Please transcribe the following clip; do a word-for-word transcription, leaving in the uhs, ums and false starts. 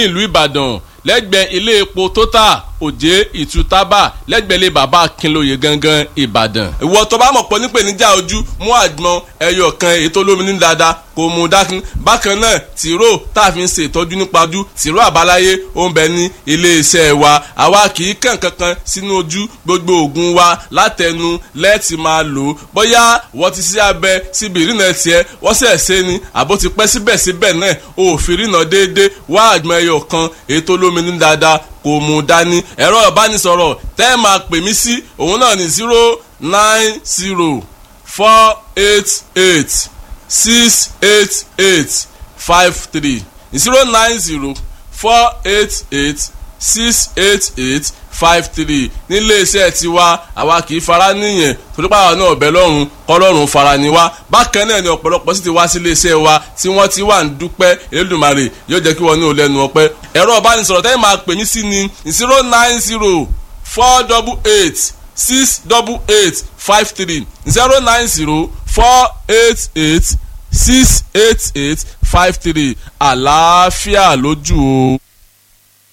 Ìlú Ìbàdàn, lẹ́gbẹ̀ẹ́ ilé epo Total, Òjé Ìtútàbà, lẹ́gbẹ̀ẹ́ ilé Bàbá Akínlóye gangan, Ìbàdàn. Ìwọ tó bá mọ̀ pọ̀ nípèníjà ojú, mú àgbọn ẹyọ kan èyí tó lómi ní dáadáa kò mú dákun. Bákan náà, tìró tá a fi ń ṣe ìtọ́jú nípa ojú, tìró àbáláyé ó ń bẹ ní ilé iṣẹ́ wa. Àwa kì í kàn kankan sínú ojú, gbogbo òògùn wa látẹnu lẹ́ẹ̀tì máa lò ó. Bóyá wọ́n ti ṣe abẹ síbi ìrìnà tiẹ̀, wọ́n sẹ̀ ṣe ni àbó ti pẹ́ síbẹ̀síbẹ̀ náà òfin ìrìnà déédéé, wá àgbọn ẹyọ kan èyí tó lómi ní dáadáa kò mú dání. Ẹ̀rọ ìbánisọ̀rọ̀ tẹ́ ẹ máa pè mí sí òun náà ní zero nine zero four eight eight six eight eight five three, zero nine zero four eight eight six eight eight five three. Nílé iṣẹ́ tiwa, àwa kì í fara níyẹn torí pàwọn náà ọ̀bẹ lọ́rùn kọ́lọ́run fara ni wá. Bákan náà ni ọ̀pọ̀lọpọ̀ sì ti wá sílé iṣẹ́ wa tí wọ́n ti wà ń dúpẹ́. Elédùmarè yóò jẹ́ kí wọ́n ní olẹ́nu ọpẹ́. Ẹ̀rọ ìbánisọ̀rọ̀ tẹ́yìn máa pè mí sí ni zero nine zero four double eight six double eight five three, zero nine zero four eight eight six eight eight five three. Àlàáfíà lójú o.